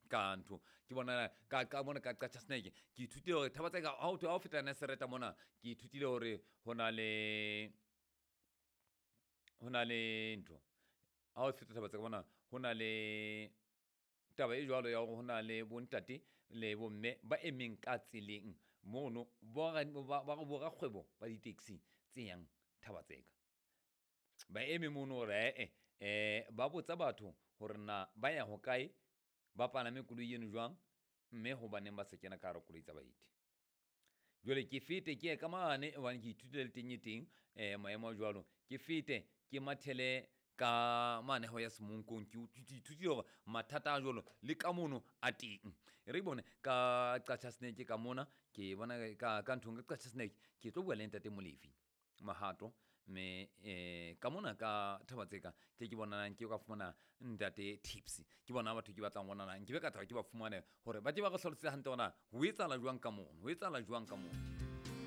Ka ntho ke bona ka mona ka Qacha Snake, ke ithutile hore thaba tse ka ha o feta Nasereta mona, ke ithutile hore ho na le ntho. Ha o feta thaba tse ka mona, ho na le taba e jwalo ya hore ho na le bontate le bomme ba emeng ka tseleng mono, borakgwebo ba di-taxi tse yang Thaba-Tseka. Ba eme mono hore ee ba botsa batho hore na ba ya hokae, ba palame koloi eno jwang, mme hobaneng ba sa kena ka hara koloi tsa baeti. Jwale ke fete ke ye ka mane hobane ke ithutile le teng e teng maemo a jwalo. Ke fete ke mathele ka mane ho ya Semonkong, ke ithutile hore mathata a jwalo le ka mono a teng. E re bone ka Qacha Snake ka mona, ke bona ka nthong ka Qacha Snake, ke tlo bua le ntate Molefi Mahato, mme ka mona ka Thaba-Tseka ke ke bonang ke ka fumana ntate Tips. Ke bona batho ke batlang bonana, nke be ka thaba ke ba fumane hore ba tle ba re hlalosetse hantle hore na ho etsahala jwang ka mono, ho etsahala jwang ka mono.